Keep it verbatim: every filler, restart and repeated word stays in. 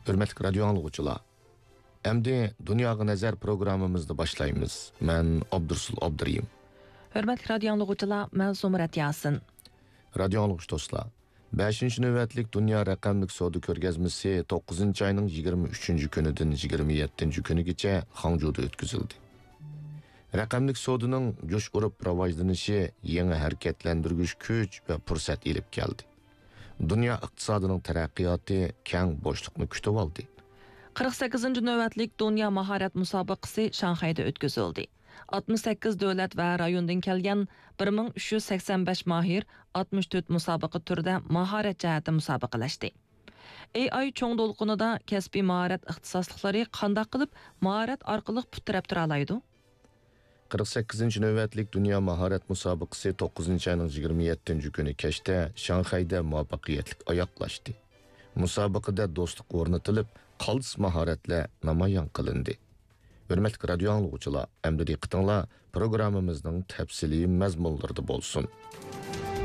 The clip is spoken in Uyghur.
ھۆرمەتلىك رادىيو ئاڭلىغۇچىلار، ئەمدى دۇنياغا نەزەر پروگراممىمىزنى باشلايمىز. مەن ئابدۇرسۇل ئابدۇرېھىم. ھۆرمەتلىك رادىيو ئاڭلىغۇچىلار، مەن زۇمرەت ياسىن. رادىيو ئاڭلىغۇچى دوستلار، بەشىنچى نۆۋەتلىك دۇنيا رەقەملىك سودا كۆرگەزمىسى توققۇزىنچى ئاينىڭ يىگىرمە ئۈچىنچى كۈنىدىن يىگىرمە يەتتىنچى كۈنىگىچە خاڭجۇدا ئۆتكۈزۈلدى. رەقەملىك سودىنىڭ جۇش ئۇرۇپ راۋاجلىنىشى يېڭى ھەرىكەتلەندۈرگۈچ كۈچ ۋە پۇرسەت ئېلىپ كەلدى. دۇنيا ئىقتىسادىنىڭ تەرەققىياتى كەڭ بوشلۇقنى كۈتۈۋالدى. قىرىق سەككىزىنچى نۆۋەتلىك دۇنيا ماھارەت مۇسابىقىسى شاڭخەيدە ئۆتكۈزۈلدى. ئاتمىش سەككىز دۆلەت ۋە رايوندىن كەلگەن بىر مىڭ ئۈچ يۈز سەكسەن بەش ماھىر، ئاتمىش تۆت مۇسابىقە تۈرىدە ماھارەت جەھەتتە مۇسابىقىلەشتى. ئېي ئاي چوڭ دولقۇنىدا كەسپىي ماھارەت ئىختىساسلىقلىرى قانداق قىلىپ ماھارەت ئارقىلىق پۇت تىرەپ تۇرالايدۇ؟ قىرىق سەككىزىنچى نۆۋەتلىك دۇنيا ماھارەت مۇسابىقىسى توققۇزىنچى ئاينىڭ يىگىرمە يەتتىنچى كۈنى كەچتە شاڭخەيدە مۇۋەپپەقىيەتلىك ئاياغلاشتى. مۇسابىقىدە دوستلۇق ئورنىتىلىپ، قالتىس ماھارەتلەر نامايان قىلىندى. ھۆرمەتلىك رادىيو ئاڭلىغۇچىلار، ئەمدى دىققىتىڭلار پروگراممىمىزنىڭ تەپسىلىي مەزمۇنلىرىدا بولسۇن.